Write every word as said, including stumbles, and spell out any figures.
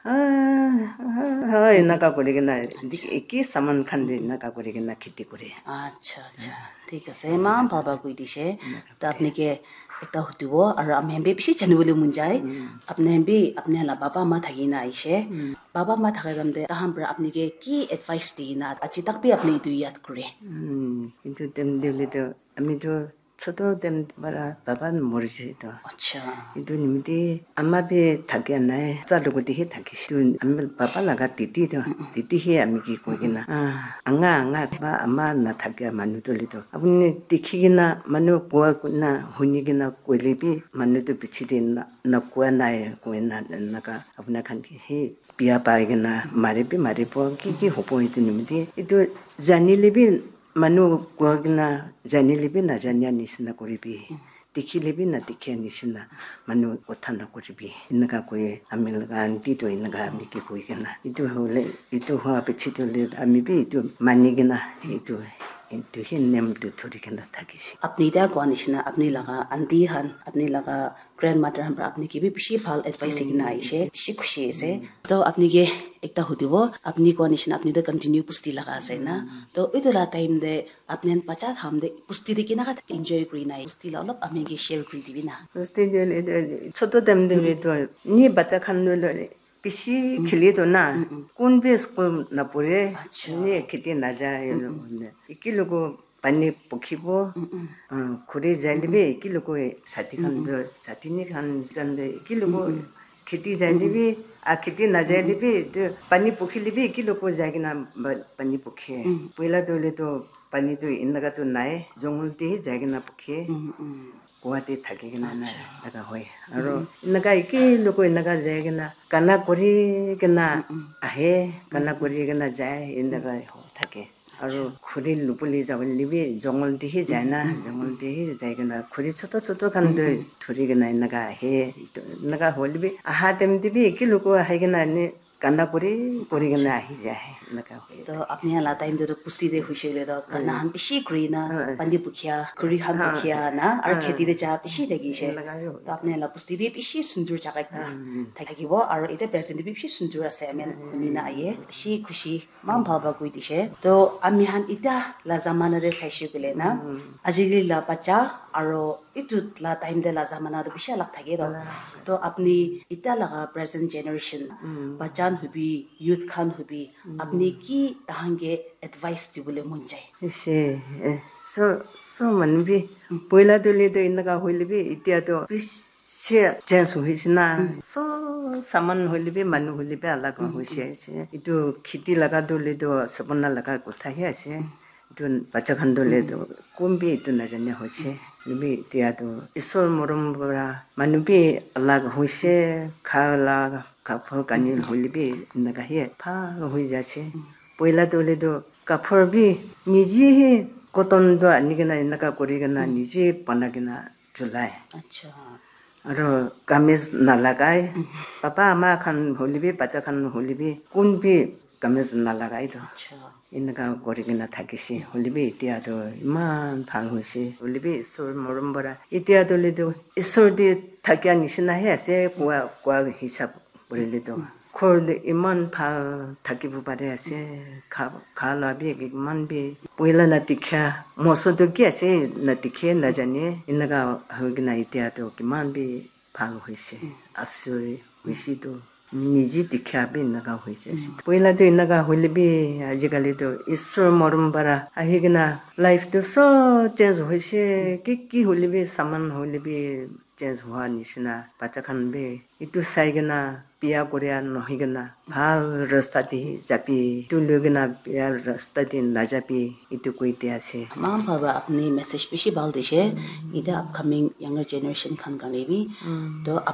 Ah, ah, ah, enaka kuri kena, eki saman khan de enaka kuri kena kheti kore. Acha, acha. Thik ase, eman bhal para koi dise. To apni ke ekta hudibo, aru ami khan bi bishi jani bole mon jai. Apni khan bi, apni khan la baba ma thaki na aise. Baba ma thaka time te, tahan para apni ke ki advice di na, aji tak bi apni etu yad kore? Hmm, etu time te hoile to, ami to choto time para baba mori jai to. Acha. Etu nimite ama bi thakia nai, cha logot te he thakise. Etu ami baba laga titi to, titi he ami ke koi kena, ah, anga, anga, ba ama na thakia manu to le to. Apuni dikhi kena, manu kua na, huni kena koile bi, manu to piche te na, na kua nai, koi na, enaka apuna khan ke he bia pai kena mari bi mari bo, ki ki hobo etu nimite. Etu janile bi manu kua kena janile bi najania nisina koribi. Dikhile bi nadikhia nisina manu kotha nakoribi. Enaka koi ami laga aunty to enaka ami ke koi kena. Etu hole, etu hoa piche to le ami bi etu mani kena etu, etu he nem to thori kena thakise. Apni ta koa nisina apni laga aunty khan, apni laga grandmother khan para apni ke bi bishi bhal advice di kena aise, bishi khushi ase. To apni ke ekta hudibo, apni koa nisina apni to continue pusti laga ase na. To etu la time te apni khan bacha time te pusti te kinaka enjoy kuri na, pusti la olop ami ke share kuri dibi na. Pusti te le, le, le, choto time te le to, ni bacha khan le, le, bishi khili to na, kun bi school na pore, acha, ni kheti na jai, eki logo pani pukhibo, ah, khuri jai le bi eki logo sati khan to, sati ni khan, khan de eki logo kheti jai le bi, ah, kheti na jai le bi, to pani pukhile bi eki logo jai kena ba-, pani pukhe. Poila to le to pani to enaka to nai, jungle te he jai kena pukhe. Kua te thaki kena na, enaka hoi. Aru enaka eki logo enaka jai kena, gana kuri kena ahe, gana kuri kena jai, enaka ho thake. Aru khuri lupuli jabole bi jungle te he jai na, jungle te he jai kena khuri choto choto khan to thori kena enaka ahe. To enaka hole bi, aha time te bi eki logo ahi kena ene gana kuri, kuri kena ahi jai, enaka hoi. To apni la time te to pusti te hoise le to gana khan bishi kuri na, pani pukhia, khuri khan pukhia na, aru kheti te ja bishi thakise. Enaka hoi. To apni la pusti bi bishi sundur jaga ekta thakibo, aru ite present te bi bishi sundur ase, ami khan huni na aye, bishi khushi, eman bhal para koi dise. To ami khan ita la zamana te saise koile na, ajikali la bacha aru etu la time te la zamana to bishi alag thake to. To apni ita laga present generation, bacha khan hobi, youth khan hobi, apni ki tahan ke advice dibole mon jai? Ase, eh, so, so manu bi, poila to le to enaka hoile bi, itia to bishi change hoise na. So, saman hoile bi, manu hoile bi alag hoise, ase. Etu kheti laga to le to sabona laga kotha he ase. Etu bacha khan to le to kun bi etu najane hoise. Hoilebi itia to Isor morom para manu bi alag hoise, kha la kapur kani hoilebi enaka he bhal hoi jaise. Poila to le to kapur bi nije he cotton to ani kena enaka kuri kena nije bana kena chulai. Acha. Aro kameez nalagai. Papa ama khan hoilebi, bacha khan hoilebi, kun bi kameez nalagai to. Acha. Enaka kuri kena thakise. Hoilebi itia to iman bhal hoise. Hoilebi Isor morom para. Itia to le to Isor te thakia nishina he ase. Kua, kua hisab kurile to. Ghor te iman bhal thakibo pare ase. Kha, kha la bi iman bi. Poila na dikha. Moso to ki ase na dikhe na jane. Enaka hoi kena itia to kiman bi bhal hoise, asuri hoise tu niji dikha bi enaka hoise ase. Poila tu enaka hoile bi ajikali tu Isor morom para ahi kena life tu sob change hoise, ki ki hoile bi saman hoile bi change hua nishina, bacha khan bi etu sai kena biya koria nohoi kena bhal rasta te jabi, etu loi kena biya rasta te najabi, etu koi dia ase. Eman bhal para apni message bishi bhal dise. Etiya upcoming younger generation khan karne bi. To apni